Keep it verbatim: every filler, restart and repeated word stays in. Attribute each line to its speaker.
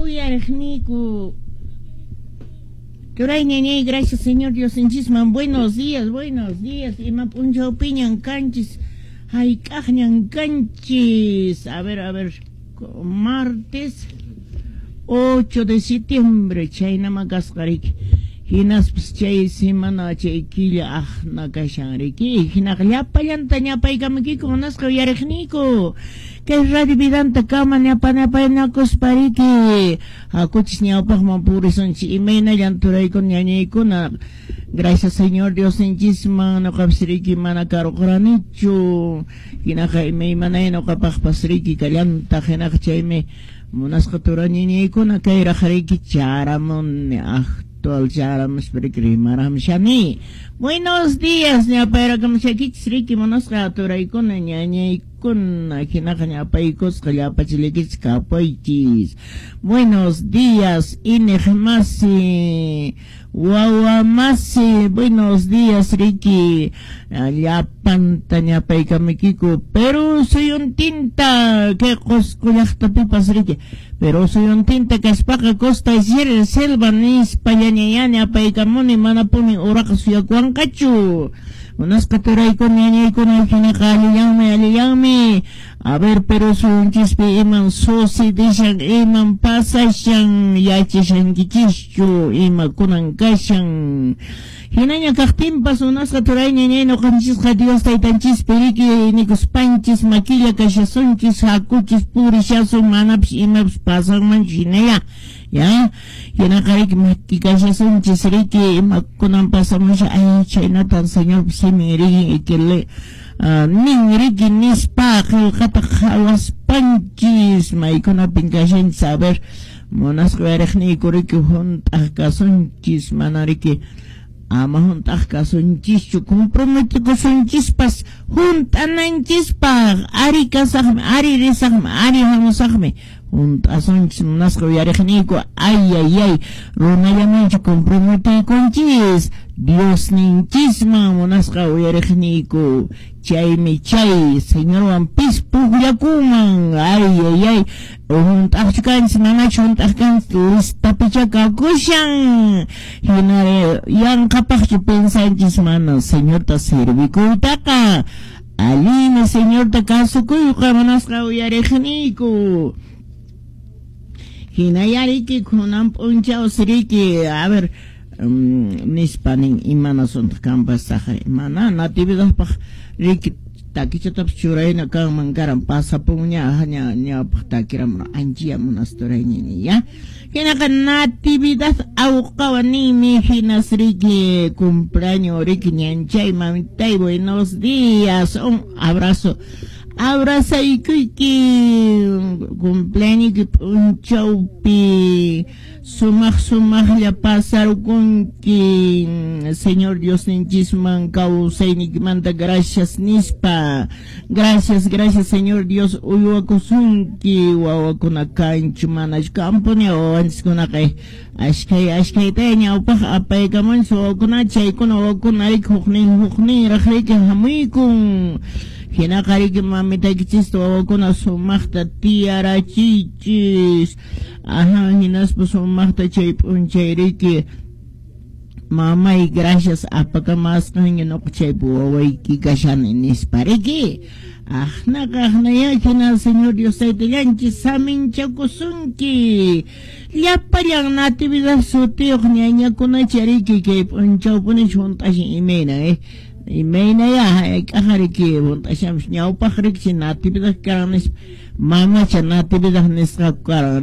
Speaker 1: Uyariqniyku Turay ñañay, gracias Señor Diosninchisman. Buenos días, buenos días. Ima p'unchawpiñan kanchis, hayk'aqñan kanchis. A ver, a ver, martes ocho de septiembre, chaynama kasqa riki. Hinaspas chay semana chay killa aqna kashan riki. Hinaqa llapallanta ñapaykamaykiku munasqa uyariqniyku. Kay Radio Vidanta kama ñapanapaynakuspa riki. Hakuchis ñawpaqman purisunchis imaynallan turaykuna ñañaykuna. Gracias Señor Diosninchisman ñuqapas riki mana karuqranichu. Hinaqa imaymanay ñuqapaqpas riki kallantaq hinaqa chaymi munasqa turañiñaykuna kayraq riki charamuni actual charamuspa riki rimaramshani. Buenos días ñapayrakamshakichis riki munasqa turaykuna ñañaykuna hinaqa ñapaykusqa llapachillaykichis kapaychis. Buenos días iñiqmasi wawa masi, buenos días riki llapanta ñapaykamaykiku Perú suyuntinta kay Qusqu llaqtapipas riki Perú suyuntinta kaspaqa Costa y Selva nispa ñañayá ñapaykamuni manapuni uraqa suyakuwanqachu. Munasqa turaykuna ñañaykuna hinaqa allillanmi allillanmi. A ver, Perú suyunchispi iman sucedishan iman pasashan yachashankichischu imakunan kashan. Hinaña kaqtinpas munasqa turay ñañay ñuqanchisqa Dios taytanchispi riki nikuspanchis makilla kashasunchis hakuchis purishasun manapas imapas pasanmanchu hinalla. Ya, hinaqa riki maki kashasunchis riki imakunan pasamusha ay chaynatan Señor simin riki ikile uh, nin riki nispa qillqata qhawaspanchis maykunapin kashanchis a ver munasqa uyariqniyku riki hunt'aq kasunchis mana riki ama hunt'aq kasunchischu comprometikusunchispas hunt'ananchispaq ari kasaqmi ari risaqmi ari hamusaqmi hunt'asunchis munasqa uyariqniyku ay ay ay runallamanchu comprometiykunchis Diosninchisman munasqa uyariqniyku chaymi chay Señorwan pis pukllakunman ay ay ay hunt'aqchu kanchis manachu hunt'aq kanchis listapicha kakushan hinari yanqapaqchu pensanchis mana Señorta servikuytaqa allinmi Señorta kasukuyqa munasqa uyariqniyku. Hinaya riki kunan p'unchaw riki a ver um, nispa nin imanasuntaq kanpas saqri mana natividadpaq riki takichatapas churayna kanman karan pasapunña ña ñawpaq takiramuna anchiya munasturayñini ya hinaqa natividad awqawa ninmi hinas riki cumpleaños riki ñanchay mamitay buenos días un abrazo abrazaykuyki cumpleaños p'unchawpi sumaq sumaqlla pasarqunki Señor Diosninchisman kawsayniykimanta gracias nispa gracias gracias Señor Dios uywakusunki wawakuna kanchu manachu kampuni wawanchiskunaqa ashkhay ashkhayta ñawpaq apaykamunchis wawakuna chaykuna wawakuna riki huknin hukninraq riki hamuykun hinaqa riki mamitaykichista wawakuna sumaqta tiyarachiychis aha hinaspa sumaqta chay p'unchay riki mamay gracias apakamasqanki ñuqa chaypi wawayki kashani nispa riki aqnaqa aqnaya hina Señor Dios taytallanchis saminchakusunki llapallan natividad sutiyuq ñañakunacha riki kay p'unchawpunichu hunt'ashan imayna eh imaynaya hayk'aqa riki hunt'ashanpas ñawpaq riki natividad karan nispa mamacha natividad nisqaku karan.